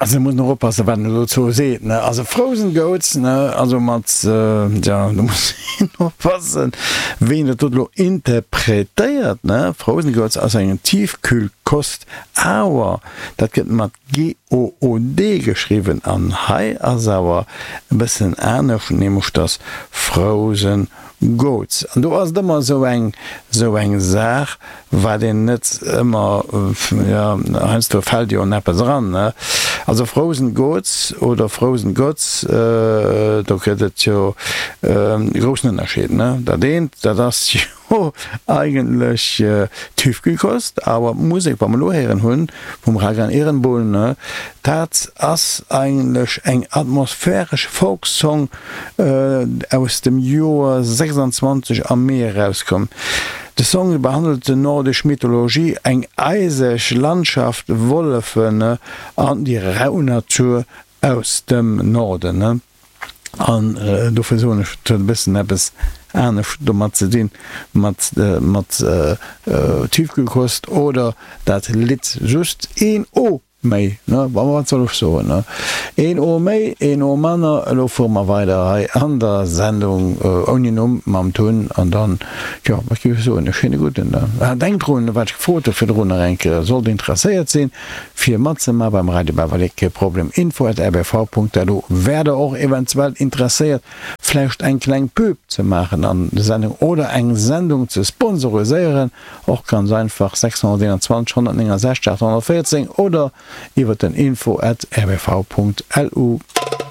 Also muss een och oppassen wat een elo dozou seet, ne. Also Frozen Goats, ne, also mat, jo, do muss een oppassen wéi een dat do elo interpretéiert, ne. Frozen Goats ass eng Tiefkühlkost, awer dat gëtt mat G-O-O-D geschriwwen an hei ass awer e bëssen anescht, nämlech dass Frozen Goats. An do ass et ëmmer esou eng, esou eng Saach, wat een net ëmmer, jo, heiansdo fält jo en eppes eran, ne. Also Frozen Goats oder Frozen Gods, do gëtt et jo e groussen Ënnerscheed, ne. Dat eent, dat ass jo eigentlech Tiefkühlkost, awer d'Musek, wat mer elo héieren hunn vum Ragan Ehrenbuhl, ne, dat ass eigentlech eng atmosphäresch Folksong, aus dem Joer 26 am Mee erauskomm. De Song behandelt de nordesch Mythologie, eng eiseg Landschaft, Wollefen an déi rau Natur aus dem Norden. An dofir soen ech, et huet e bëssen eppes anescht domat ze dinn, mat mat Tiefkühlkost oder dat Lidd just een O. Méi, ne? Bon, wat soll ech soen, ne? Een O méi, een O manner. Elo fuere mer weider hei an der Sendung ouni Numm mam Tun. An dann, jo, wat géif ech soen, e schéine gudden da. Ah, denkt drun, wat ech gefrot hu virdrun nach eng Kéier, Sollt interesséiert sinn, fir matzema beim Radio Bavalé, kee Problem, info at rbv.lu. Wäert der och eventuell interesséiert, vläicht eng kleng Pub ze maachen an der Sendung oder eng Sendung ze sponsoriséieren, Och ganz einfach 621 169 814 oder iwwer den info at rbv.lu.